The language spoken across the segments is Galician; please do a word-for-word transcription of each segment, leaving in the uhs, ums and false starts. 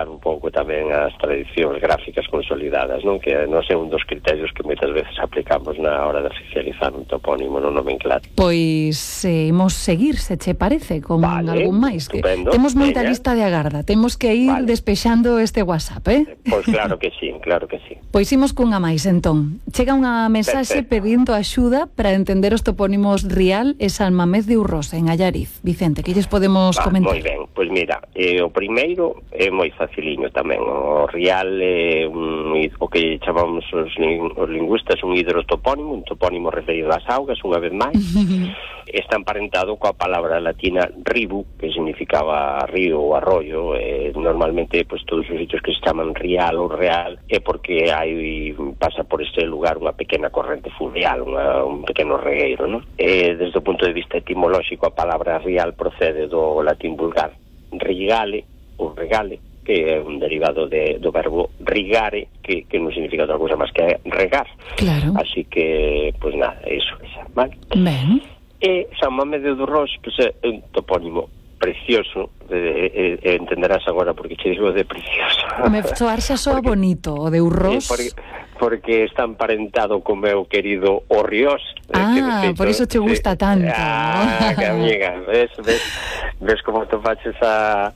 respetar un pouco tamén as tradicións gráficas consolidadas, non? Que non é un dos criterios que moitas veces aplicamos na hora de oficializar un topónimo no nomenclato. Pois eh, imos seguir, se che parece, con vale, algún máis. Que temos moita veña. lista de agarda, temos que ir vale. despexando este WhatsApp, eh? Pois claro que sí, claro que sí. Pois imos cunha máis, entón. Chega unha mensaxe pedindo axuda para entender os topónimos Rial e San Mamés de Urrosa, en Allariz. Vicente, que lles podemos ah, comentar? Moi ben, pois mira, eh, o primeiro é moi faciliño tamén. O Rial é un, o que chamamos os, os lingüistas un hidrotopónimo, un topónimo referido ás augas, unha vez máis. Está emparentado coa palabra latina ribu, que significaba río ou arroyo. Eh, normalmente, pues, todos os sitios que se chaman Rial ou Real é porque hai pasa por este lugar unha pequena corrente fluvial, unha, un pequeno regueiro, non? Eh, desde o punto de vista etimolóxico, a palabra Rial procede do latín vulgar rigale ou regale, que é un derivado de, do verbo rigare, que, que non significa outra cousa máis que regar. Claro. Así que, pues nada, eso, esa, vale? Ben. E San Mamés de Urroz, pues, é un topónimo precioso, eh, eh, entenderás agora porque che digo de precioso. Me soar xa soa bonito, o de Urroz. Eh, porque, porque está emparentado co meu querido Orriós. Ah, eh, que feito, por iso te gusta eh, tanto. Ah, que amiga, ves, ves, ves como te faches a...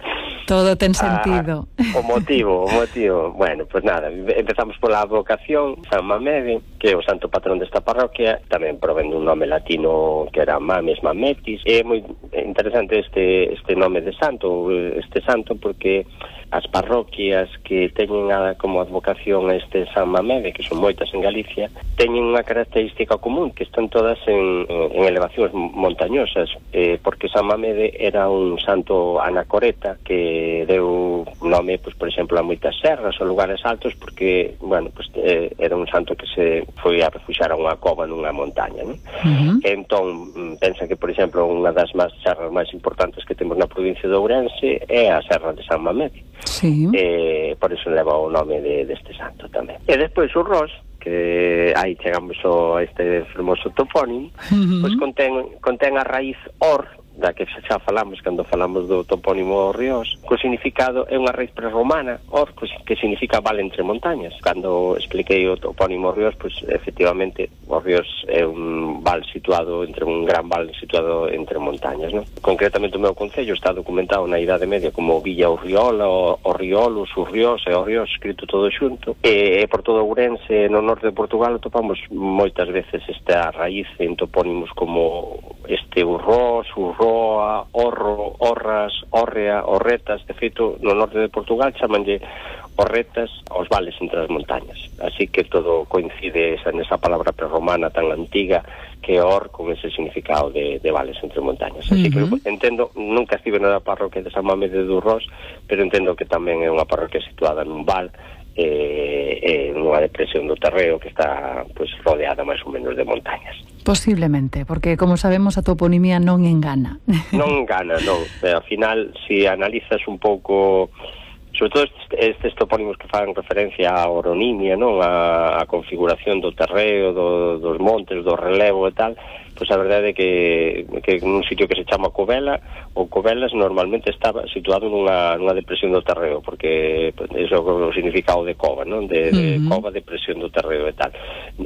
Todo ten sentido. A, o motivo, o motivo. Bueno, pues nada, empezamos pola vocación. San Mamede, que é o santo patrón desta parroquia, tamén provén dun nome latino que era Mames Mametis. É moi interesante este este nome de santo, este santo, porque as parroquias que teñen a, como advocación a este San Mamede, que son moitas en Galicia, teñen unha característica común, que están todas en, en elevacións montañosas, eh, porque San Mamede era un santo anacoreta que deu nome, pues, por exemplo, a moitas serras ou lugares altos, porque, bueno, pues, eh, era un santo que se foi a refuxar a unha cova nunha montaña, ¿no? Uh-huh. Entón, pensa que, por exemplo, unha das máis serras máis importantes que temos na provincia de Ourense é a serra de San Mamede. Sí. Eh, por iso leva o nome de, deste santo tamén. E despois o Ros, que aí chegamos a este fermoso topónimo, uh-huh. Pois contén, contén a raíz or, da que xa falamos cando falamos do topónimo Ríos, co significado é unha raíz prerromana, or, que significa vale entre montañas. Cando expliquei o topónimo Ríos, pois efectivamente o Ríos é un val situado entre un gran val situado entre montañas, non? Concretamente o meu concello está documentado na Idade Media como Villa Urriola, o, o Riolos, o Ríos e o Ríos, escrito todo xunto, e, e por todo Ourense, no norte de Portugal, topamos moitas veces esta raíz en topónimos como este Urrós, Urroa, Orro, Orras, Orrea, Orretas. De feito, no norte de Portugal chamanlle Orretas aos vales entre as montañas. Así que todo coincide esa, nesa palabra prerromana tan antiga que Or, con ese significado de, de vales entre montañas. Así uh-huh. que entendo, nunca estive na parroquia de San Mamede de Urroz, pero entendo que tamén é unha parroquia situada nun val, eh, eh, nunha depresión do terreo que está, pues, rodeada máis ou menos de montañas. Posiblemente, porque como sabemos a toponimia non engana. Non engana, non. Pero, ao final, se si analizas un pouco, sobre todo estes, estes topónimos que fan referencia á oronimia, non, a, a configuración do terreo, do, dos montes, do relevo e tal, pois a verdade é que, que nun sitio que se chama Covela, ou Covelas, normalmente estaba situado nunha, nunha depresión do terreo, porque pues, iso é o significado de cova, non? De, de uh-huh. cova, depresión do terreo e tal.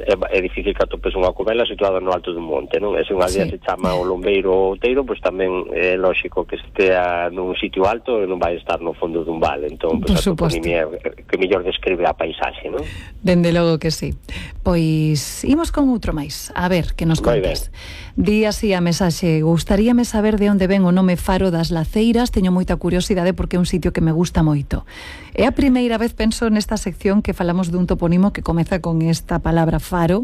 É, é difícil que atopes unha Covela situada no alto dun monte, non? E se unha aldea sí. se chama o Lombeiro ou Outeiro, pois tamén é lógico que estea nun sitio alto e non vai estar no fondo dun vale. Entón, pois, a toponimia que mellor describe a paisaxe, non? Dende logo que sí. Pois imos con outro máis. A ver, que nos contas. Di así a mensaxe: gustaríame saber de onde ven o nome Faro das Laceiras, teño moita curiosidade porque é un sitio que me gusta moito. É a primeira vez, penso, nesta sección que falamos dun topónimo que comeza con esta palabra Faro,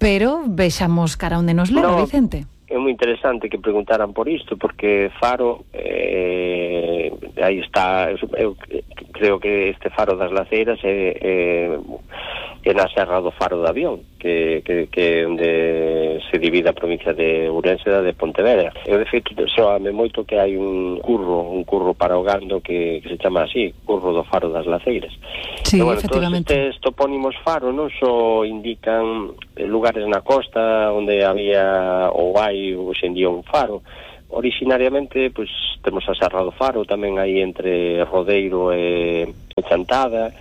pero vexamos cara onde nos leva, no, Vicente. É moi interesante que preguntaran por isto, porque Faro, eh, aí está, eu creo que este Faro das Laceiras é, é, é na Serra do Faro de Avión, que, que, que é onde se divide a provincia de Ourense da de Pontevedra. Eu, de feito, soame moito que hai un curro, un curro para o gando que, que se chama así, curro do Faro das Laceiras. Sí, bueno, efectivamente. Todos estes topónimos Faro non só indican lugares na costa onde había ou hai hoxe en día un faro. Originariamente, pois, temos a Serra do Faro, tamén aí entre Rodeiro e encantada.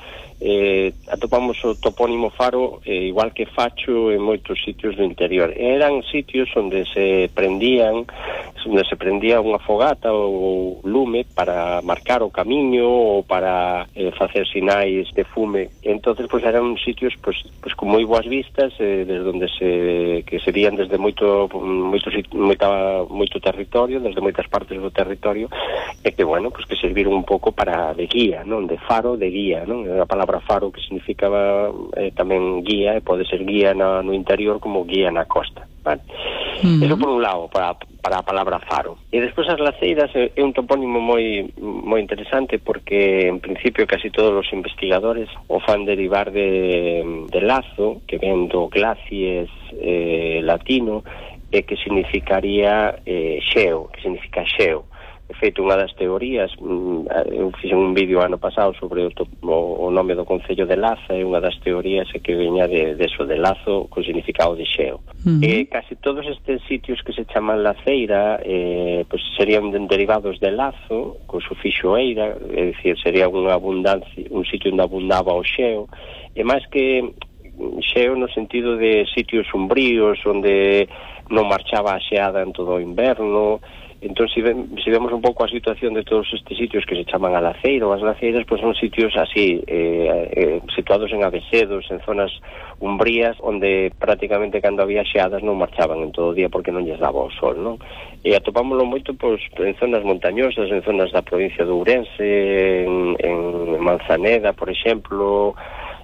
Eh, atopamos o topónimo faro eh, igual que Facho en moitos sitios do interior. Eran sitios onde se prendían onde se prendía unha fogata ou lume para marcar o camiño ou para eh, facer sinais de fume. Entonces, pois, eran sitios pois, pois con moi boas vistas, eh, desde onde se que se vían desde moito moito, moita, moito territorio, desde moitas partes do territorio, e que, bueno, pois que serviron un pouco para de guía, non? De faro, de guía, non? A palabra faro que significaba eh, tamén guía, e pode ser guía na, no interior como guía na costa, vale? Uh-huh. Eso por un lado, para, para a palabra faro. E despois as laceiras é, é un topónimo moi moi interesante, porque en principio casi todos os investigadores o fan derivar de, de lazo, que ven do glacies eh, latino, e que significaría eh, xeo, que significa xeo. De feito, unha das teorías, eu fixe un vídeo ano pasado sobre o, o, o nome do concello de Laza, e unha das teorías é que veña de, de eso, de lazo, con significado de xeo. Uh-huh. E casi todos estes sitios que se chaman laceira, eh, pues serían derivados de lazo, con sufixo eira, é dicir, sería unha abundancia, un sitio onde abundaba o xeo, e máis que xeo no sentido de sitios sombríos, onde non marchaba a xeada en todo o inverno. Entón, se, ven, se vemos un pouco a situación de todos estes sitios que se chaman a laceira ou as laceiras, pois son sitios así, eh, eh, situados en avesedos, en zonas umbrías, onde prácticamente cando había xeadas non marchaban en todo o día porque non lles daba o sol, non? E atopámoslo moito pois, en zonas montañosas, en zonas da provincia de Ourense, en, en Manzaneda, por exemplo,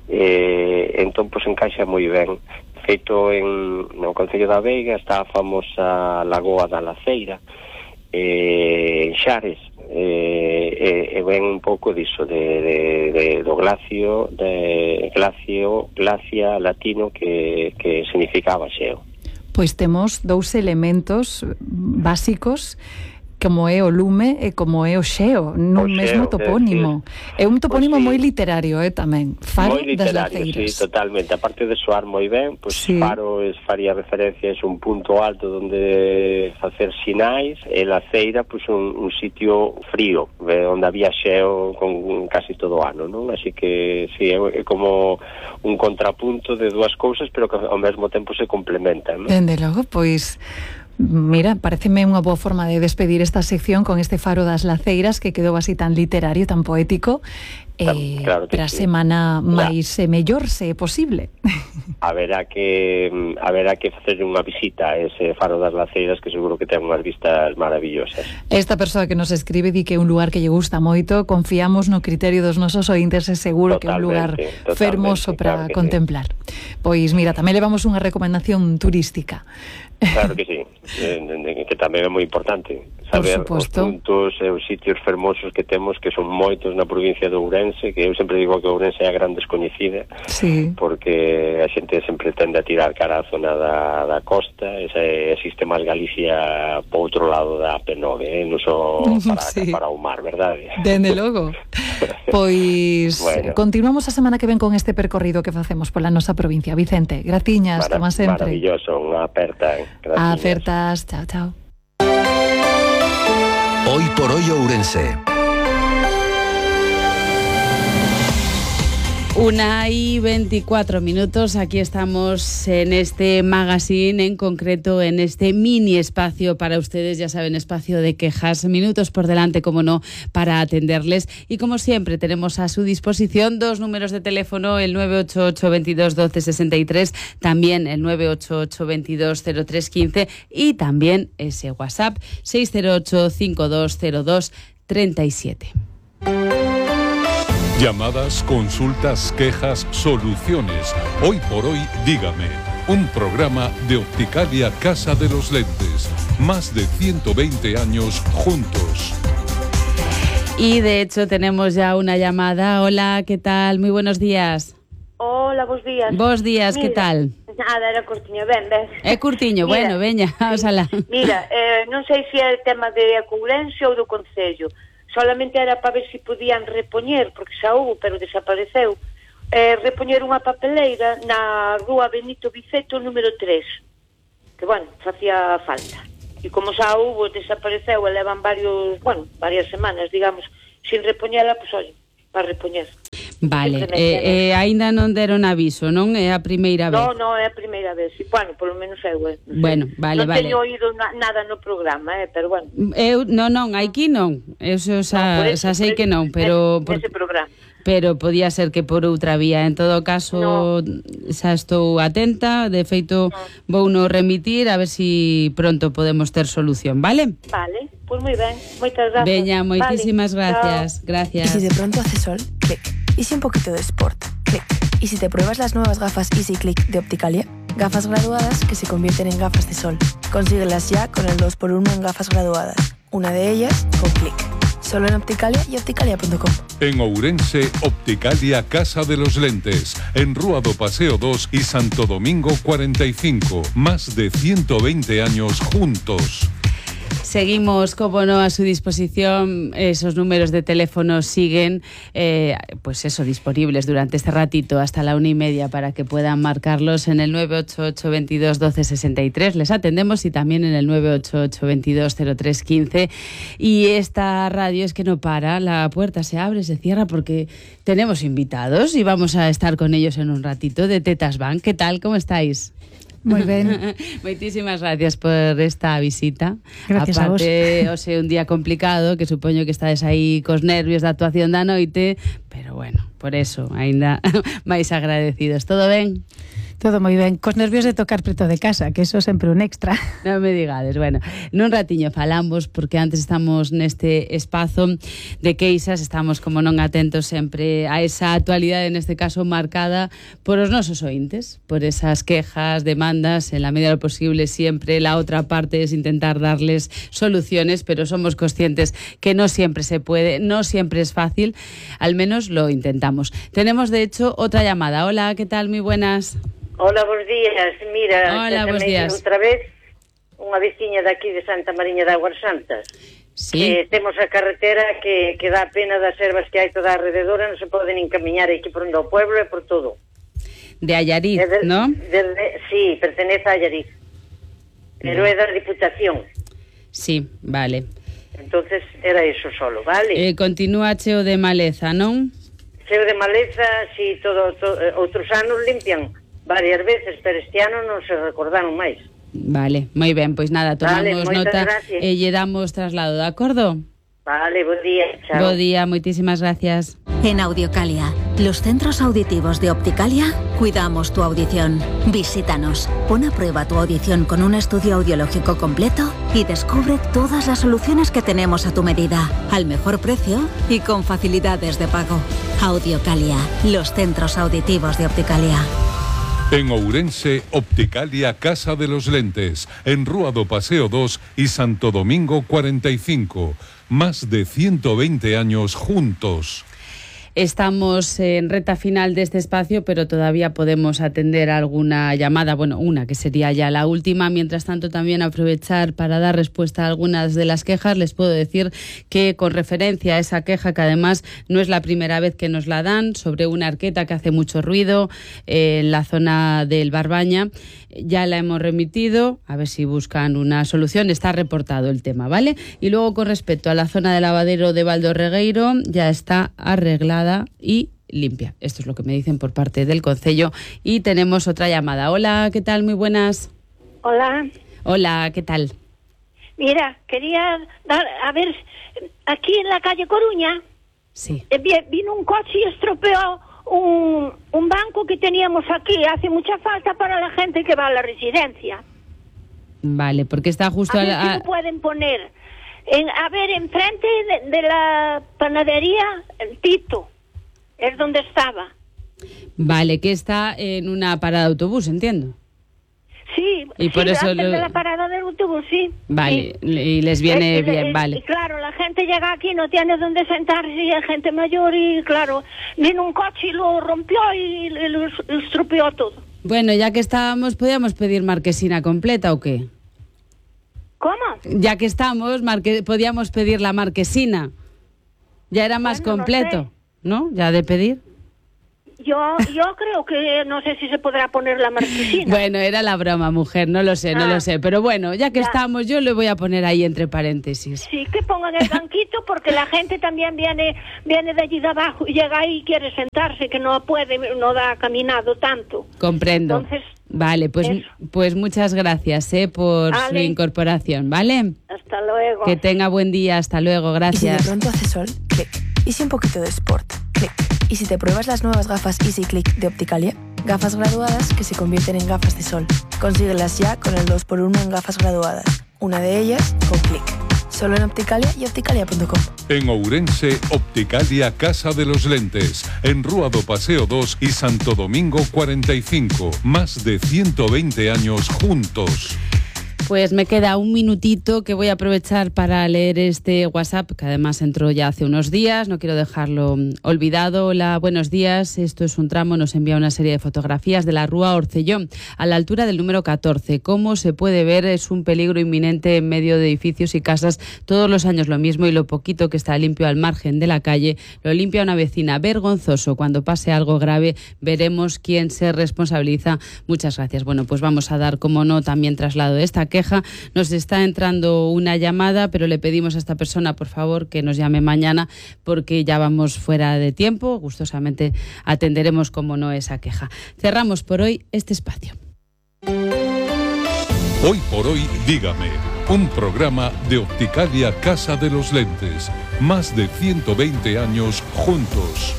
eh, entón, pois, encaixa moi ben. Feito en, no Concello da Veiga está a famosa Lagoa da Laceira, eh, en Xares, eh, e eh, ven un pouco diso de, de, de, do glacio de glacio, glacia latino que, que significaba xeo. Pois temos dous elementos básicos, como é o lume e como é o xeo, nun o mesmo xeo, topónimo. É, é un topónimo pues, sí, moi literario, eh, tamén. Faro das Laceiras. Sí, totalmente. Aparte de soar moi ben, pois pues, sí. Faro es, faría referencia, é un punto alto onde facer sinais, e Laceira, pois pues, un, un sitio frío, onde había xeo con casi todo o ano, non? Así que, sí, é, é como un contrapunto de dúas cousas, pero que ao mesmo tempo se complementan, non? Dende logo, pois... Mira, pareceme unha boa forma de despedir esta sección con este Faro das Laceiras, que quedou así tan literario, tan poético, eh, claro para a sí. semana máis e mellor, se é posible. Haberá que haberá que facer unha visita a ese Faro das Laceiras, que seguro que ten unhas vistas maravillosas. Esta persoa que nos escribe di que é un lugar que lle gusta moito, confiamos no criterio dos nosos ointes, é seguro totalmente, que é un lugar fermoso para claro contemplar. Sí. Pois mira, tamén levamos unha recomendación turística. Claro que sí, que tamén é moi importante saber os puntos e os sitios fermosos que temos, que son moitos na provincia de Ourense, que eu sempre digo que Ourense é a gran descoñecida, sí, porque a xente sempre tende a tirar cara á zona da, da costa, ese, existe máis Galicia po outro lado da A P nove, eh? Non só para, sí, para o mar, verdade? Dende logo. Pois bueno, continuamos a semana que ven con este percorrido que facemos pola nosa provincia. Vicente, gratiñas, como sempre. Maravilloso, unha aperta. Gracias. Acertas, chao, chao. Hoy por hoy Ourense. Una y veinticuatro minutos, aquí estamos en este magazine, en concreto en este mini espacio para ustedes, ya saben, espacio de quejas, minutos por delante, como no, para atenderles. Y como siempre tenemos a su disposición dos números de teléfono, el nueve ocho ocho, veintidós, doce, sesenta y tres, también el nueve ocho ocho, veintidós, cero tres, quince y también ese WhatsApp seis cero ocho, cincuenta y dos, cero dos, treinta y siete. Llamadas, consultas, quejas, soluciones. Hoy por hoy, dígame. Un programa de Opticalia Casa de los Lentes. Más de ciento veinte años juntos. Y de hecho tenemos ya una llamada. Hola, ¿qué tal? Muy buenos días. Hola, bos días. Bos días, mira, ¿qué tal? Nada, era curtiño, ben, ben. É curtiño, mira, bueno, veña, oxalá. Mira, eh, non sei se é tema de Ourense ou do Concello. Solamente era para ver se podían repoñer, porque xa houve, pero desapareceu, eh, repoñer unha papeleira na rúa Benito Viceto número tres, que, bueno, facía falta. E como xa houve, desapareceu, e levan varios, bueno, varias semanas, digamos, sin repoñela, pois, pues, oi, para repoñer. Vale, e eh, eh, aínda non deron aviso, non? É a primeira vez. Non, non, é a primeira vez. Bueno, polo menos eu, eh. Bueno, vale, non vale. Non teño oído na, nada no programa, eh, pero bueno. Eu, non, non, aquí non. Eu xa, no, xa sei que non, pero... Ese, por... ese programa. Pero podía ser que por outra vía. En todo caso, no. xa estou atenta. De feito, no. vou no remitir a ver si pronto podemos ter solución, ¿vale? Vale, pues moi ben. Moitas gracias. Veña, moitísimas vale. gracias. Chao. Gracias. Y si de pronto hace sol, clic. Y si un poquito de sport, clic. Y si te pruebas las nuevas gafas Easy Click de Opticalia, gafas graduadas que se convierten en gafas de sol. Consíguelas ya con el dos por uno en gafas graduadas. Una de ellas con clic. Solo en Opticalia y opticalia punto com. En Ourense, Opticalia Casa de los Lentes. En Rúa do Paseo dos y Santo Domingo cuarenta y cinco. Más de ciento veinte años juntos. Seguimos, como no, a su disposición. Esos números de teléfono siguen, eh, pues eso, disponibles durante este ratito hasta la una y media para que puedan marcarlos en el nueve ocho ocho, veintidós, doce, sesenta y tres. Les atendemos y también en el nueve ocho ocho, veintidós, cero tres, quince. Y esta radio es que no para, la puerta se abre, se cierra porque tenemos invitados y vamos a estar con ellos en un ratito de Tetas Bank. ¿Qué tal? ¿Cómo estáis? Moi ben. Moitísimas gracias por esta visita. Gracias Aparte, a vos. O sea, un día complicado, que supoño que estades aí cos nervios da actuación da noite, pero bueno, por eso, aínda máis agradecidos. Todo ben? Todo moi ben, cos nervios de tocar preto de casa, que eso sempre un extra. Non me digades, bueno, nun ratiño falamos, porque antes estamos neste espazo de queixas, estamos como non atentos sempre a esa actualidade, neste caso marcada por os nosos ointes, por esas quejas, demandas, en la medida de lo posible siempre la otra parte es intentar darles soluciones, pero somos conscientes que no siempre se puede, no siempre es fácil, al menos lo intentamos. Tenemos de hecho otra llamada. Hola, ¿qué tal? Muy buenas. Hola, bons días. Mira, hola, bons días. Outra vez unha veciña daqui de Santa Mariña de Aguas Santas. Sí. Que temos a carretera que, que dá pena das ervas que hai toda alrededor, non se poden encamiñar aquí por onde o pueblo e por todo. De Allariz, de, ¿no? De, de, sí, pertenece a Allariz. Pero é da Diputación. Sí, vale. Entonces era eso solo, vale? Eh, continúa cheo de maleza, non? Cheo de maleza, si sí, todo, todo, outros anos limpian varias veces, pero este ano non se recordaron máis. Vale, moi ben, pois nada, tomamos vale, nota gracias. e lle damos traslado, de acordo? Vale, bo día, chao. Bo día, moitísimas gracias. En Audiocalia, los centros auditivos de Opticalia, cuidamos tu audición. Visítanos, pon a prueba tu audición con un estudio audiológico completo y descubre todas las soluciones que tenemos a tu medida, al mejor precio y con facilidades de pago. Audiocalia, los centros auditivos de Opticalia. En Ourense, Opticalia Casa de los Lentes, en Rúa do Paseo dos y Santo Domingo cuarenta y cinco. Más de ciento veinte años juntos. Estamos en reta final de este espacio, pero todavía podemos atender alguna llamada, bueno, una que sería ya la última. Mientras tanto, también aprovechar para dar respuesta a algunas de las quejas. Les puedo decir que con referencia a esa queja, que además no es la primera vez que nos la dan, sobre una arqueta que hace mucho ruido eh, en la zona del Barbaña, ya la hemos remitido, a ver si buscan una solución. Está reportado el tema, ¿vale? Y luego, con respecto a la zona del lavadero de Valdorregueiro, ya está arreglada y limpia. Esto es lo que me dicen por parte del concello. Y tenemos otra llamada. Hola, ¿qué tal? Muy buenas. Hola. Hola, ¿qué tal? Mira, quería dar, a ver, aquí en la calle Coruña, sí. eh, vino un coche y estropeó un, un banco que teníamos aquí. Hace mucha falta para la gente que va a la residencia. Vale, porque está justo a a ver la... si lo pueden poner. En, a ver, enfrente de, de la panadería el Tito, es donde estaba. Vale, que está en una parada de autobús, entiendo. Sí, y sí, por eso antes lo... de la parada del autobús, sí. Vale, sí. Y les viene es, bien, es, vale. Y claro, la gente llega aquí, no tiene dónde sentarse, y hay gente mayor, y claro, vino un coche y lo rompió y lo estropeó todo. Bueno, ya que estábamos, ¿podíamos pedir marquesina completa o qué? ¿Cómo? Ya que estamos, marque... podíamos pedir la marquesina. Ya era más bueno, completo, no sé. ¿no? Ya de pedir. Yo, yo creo que no sé si se podrá poner la marquesina. Bueno, era la broma, mujer, no lo sé, no Ah. lo sé. Pero bueno, ya que Ya. estamos, yo le voy a poner ahí entre paréntesis. Sí, que pongan el banquito porque la gente también viene viene de allí de abajo y llega ahí y quiere sentarse, que no puede, no da caminado tanto. Comprendo. Entonces, vale, pues, eso. pues muchas gracias eh, por su Vale. incorporación, ¿vale? Hasta luego. Que tenga buen día, hasta luego, Y si de gracias. pronto hace sol, clic. Y si un poquito de sport, clic. Y si te pruebas las nuevas gafas Easy Click de Opticalia, gafas graduadas que se convierten en gafas de sol. Consíguelas ya con el dos por uno en gafas graduadas. Una de ellas con clic. Solo en Opticalia y opticalia punto com. En Ourense, Opticalia Casa de los Lentes. En Rúa do Paseo dos y Santo Domingo cuarenta y cinco. Más de ciento veinte años juntos. Pues me queda un minutito que voy a aprovechar para leer este WhatsApp, que además entró ya hace unos días, no quiero dejarlo olvidado. Hola, buenos días, esto es un tramo, nos envía una serie de fotografías de la Rúa Orcellón, a la altura del número catorce. Como se puede ver, es un peligro inminente en medio de edificios y casas, todos los años lo mismo, y lo poquito que está limpio al margen de la calle, lo limpia una vecina. Vergonzoso, cuando pase algo grave, veremos quién se responsabiliza. Muchas gracias. Bueno, pues vamos a dar, como no, también traslado de esta queja. Nos está entrando una llamada, pero le pedimos a esta persona, por favor, que nos llame mañana, porque ya vamos fuera de tiempo. Gustosamente atenderemos, como no, esa queja. Cerramos por hoy este espacio. Hoy por hoy, dígame. Un programa de Opticalia Casa de los Lentes. Más de ciento veinte años juntos.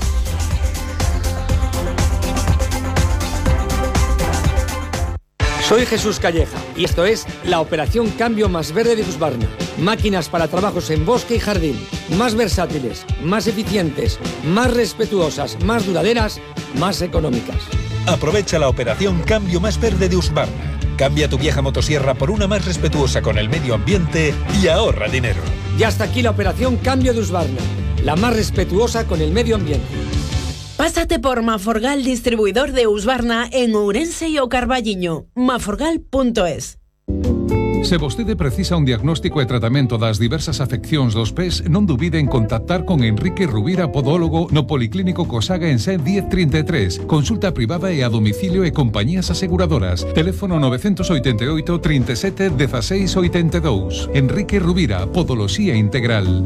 Soy Jesús Calleja y esto es la Operación Cambio Más Verde de Husqvarna. Máquinas para trabajos en bosque y jardín, más versátiles, más eficientes, más respetuosas, más duraderas, más económicas. Aprovecha la Operación Cambio Más Verde de Husqvarna. Cambia tu vieja motosierra por una más respetuosa con el medio ambiente y ahorra dinero. Y hasta aquí la Operación Cambio de Husqvarna, la más respetuosa con el medio ambiente. Pásate por Maforgal, distribuidor de Husqvarna en Ourense e o Carballiño. maforgal punto es. Se vostede precisa un diagnóstico e tratamento das diversas afeccións dos pés, non dubide en contactar con Enrique Rubira, podólogo, no Policlínico Cosaga en Sen diez treinta e tres. Consulta privada e a domicilio e compañías aseguradoras. Teléfono novecientos oitenta e oito, trinta e sete, dieciséis oitenta e dous. Enrique Rubira, Podoloxía Integral.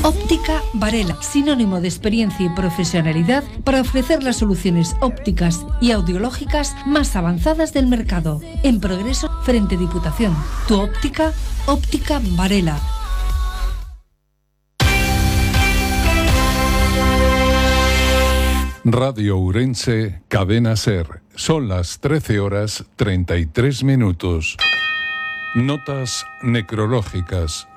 Óptica Varela, sinónimo de experiencia y profesionalidad para ofrecer las soluciones ópticas y audiológicas más avanzadas del mercado. En progreso, frente Diputación. Tu óptica, Óptica Varela. Radio Ourense, Cadena Ser. Son las trece horas treinta y tres minutos. Notas necrológicas.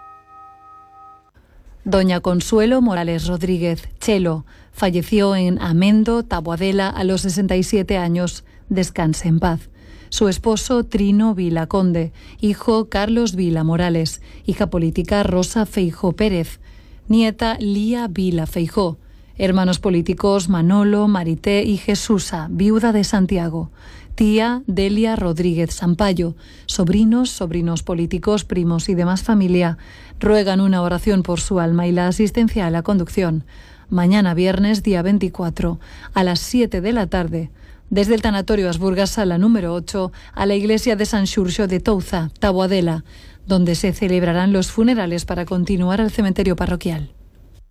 Doña Consuelo Morales Rodríguez, Chelo, falleció en Amendo, Taboadela, a los sesenta y siete años. Descanse en paz. Su esposo, Trino Vila Conde, hijo Carlos Vila Morales, hija política Rosa Feijó Pérez, nieta Lía Vila Feijó, hermanos políticos Manolo, Marité y Jesusa, viuda de Santiago, tía Delia Rodríguez Sampayo, sobrinos, sobrinos políticos, primos y demás familia ruegan una oración por su alma y la asistencia a la conducción. Mañana viernes, día veinticuatro, a las siete de la tarde, desde el tanatorio Asburgas, sala número ocho, a la iglesia de San Xurxo de Touza, Taboadela, donde se celebrarán los funerales para continuar al cementerio parroquial.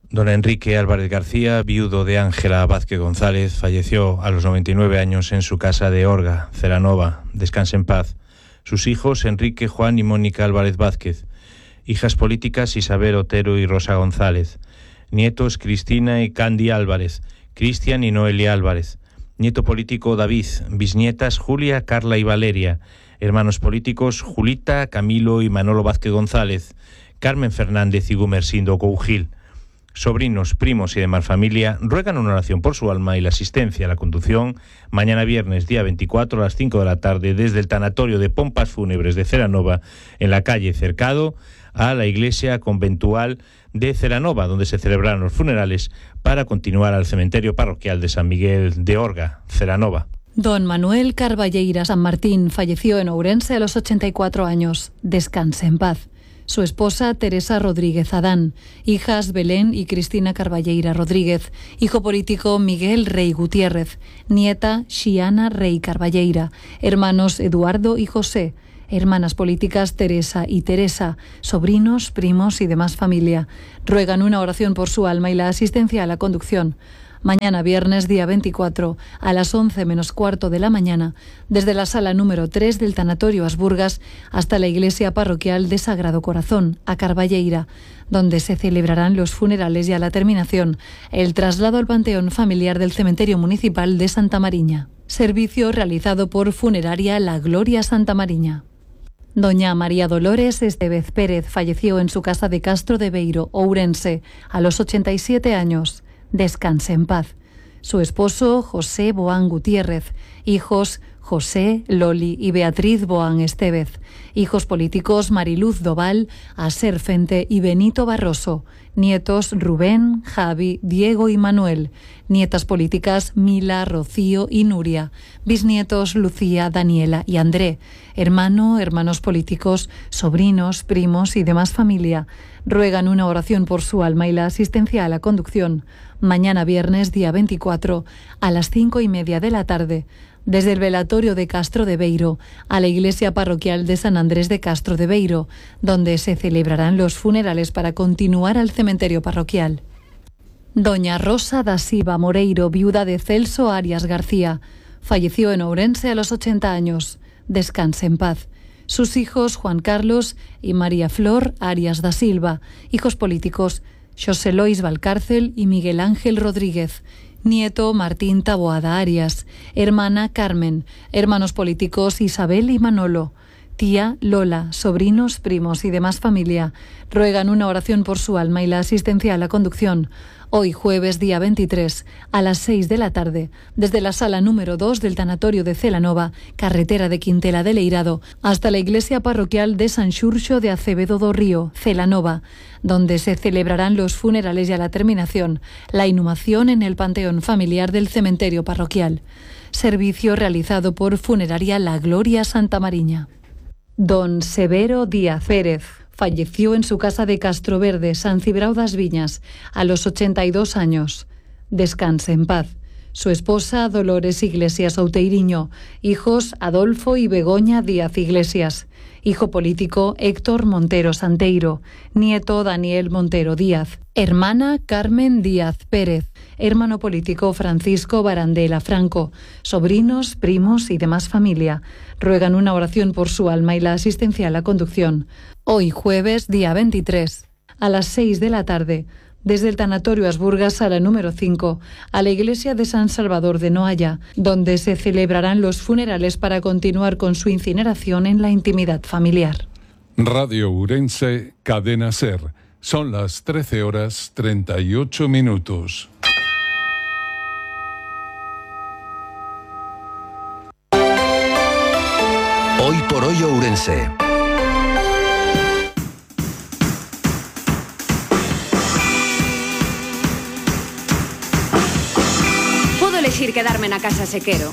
Don Enrique Álvarez García, viudo de Ángela Vázquez González, falleció a los noventa y nueve años en su casa de Orga, Celanova. Descanse en paz. Sus hijos, Enrique, Juan y Mónica Álvarez Vázquez. Hijas políticas, Isabel Otero y Rosa González. Nietos, Cristina y Candy Álvarez. Cristian y Noelia Álvarez. Nieto político, David. Bisnietas, Julia, Carla y Valeria. Hermanos políticos, Julita, Camilo y Manolo Vázquez González. Carmen Fernández y Gumersindo Cougil. Sobrinos, primos y demás familia ruegan una oración por su alma y la asistencia a la conducción mañana viernes, día veinticuatro, a las cinco de la tarde, desde el tanatorio de Pompas Fúnebres de Celanova, en la calle Cercado, a la iglesia conventual de Celanova, donde se celebrarán los funerales para continuar al cementerio parroquial de San Miguel de Orga, Celanova. Don Manuel Carballeira San Martín falleció en Ourense a los ochenta y cuatro años. Descanse en paz. su esposa Teresa Rodríguez Adán, hijas Belén y Cristina Carballeira Rodríguez, hijo político Miguel Rey Gutiérrez, nieta Xiana Rey Carballeira, hermanos Eduardo y José, hermanas políticas Teresa y Teresa, sobrinos, primos y demás familia. Ruegan una oración por su alma y la asistencia a la conducción. Mañana viernes, día veinticuatro, a las once menos cuarto de la mañana, desde la sala número tres del Tanatorio Asburgas hasta la iglesia parroquial de Sagrado Corazón, a Carballeira, donde se celebrarán los funerales y a la terminación el traslado al panteón familiar del cementerio municipal de Santa Mariña. Servicio realizado por Funeraria La Gloria Santa Mariña. Doña María Dolores Estevez Pérez falleció en su casa de Castro de Beiro, Ourense, a los ochenta y siete años. Descanse en paz. Su esposo, José Boán Gutiérrez, hijos José, Loli y Beatriz Boán Estevez, hijos políticos Mariluz Doval, Aser Fente y Benito Barroso, nietos Rubén, Javi, Diego y Manuel, nietas políticas Mila, Rocío y Nuria, bisnietos Lucía, Daniela y André, hermano, hermanos políticos, sobrinos, primos y demás familia. Ruegan una oración por su alma y la asistencia a la conducción. Mañana viernes, día veinticuatro, a las cinco y media de la tarde, desde el velatorio de Castro de Beiro a la iglesia parroquial de San Andrés de Castro de Beiro, donde se celebrarán los funerales para continuar al cementerio parroquial. Doña Rosa da Silva Moreiro, viuda de Celso Arias García, falleció en Ourense a los ochenta años. Descanse en paz. Sus hijos Juan Carlos y María Flor Arias da Silva, hijos políticos Xosé Lois Valcárcel y Miguel Ángel Rodríguez, nieto Martín Taboada Arias, hermana Carmen, hermanos políticos Isabel y Manolo, tía Lola, sobrinos, primos y demás familia. Ruegan una oración por su alma y la asistencia a la conducción. Hoy jueves, día veintitrés, a las seis de la tarde, desde la sala número dos del Tanatorio de Celanova, carretera de Quintela de Leirado, hasta la iglesia parroquial de San Xurxo de Acevedo do Río, Celanova, donde se celebrarán los funerales y a la terminación, la inhumación en el panteón familiar del cementerio parroquial. Servicio realizado por Funeraria La Gloria Santa Mariña. Don Severo Díaz Pérez falleció en su casa de Castroverde, San Cibrao das Viñas, a los ochenta y dos años. Descanse en paz. Su esposa, Dolores Iglesias Outeiriño, hijos Adolfo y Begoña Díaz Iglesias, hijo político Héctor Montero Santeiro, nieto Daniel Montero Díaz, hermana Carmen Díaz Pérez, hermano político Francisco Barandela Franco, sobrinos, primos y demás familia. Ruegan una oración por su alma y la asistencia a la conducción. Hoy jueves, día veintitrés, a las seis de la tarde, desde el Tanatorio Asburgas, sala número cinco, a la iglesia de San Salvador de Noaya, donde se celebrarán los funerales para continuar con su incineración en la intimidad familiar. Radio Ourense, Cadena Ser. Son las trece horas treinta y ocho minutos. Hoy por hoy Ourense. Podo elexir quedarme na casa se quero,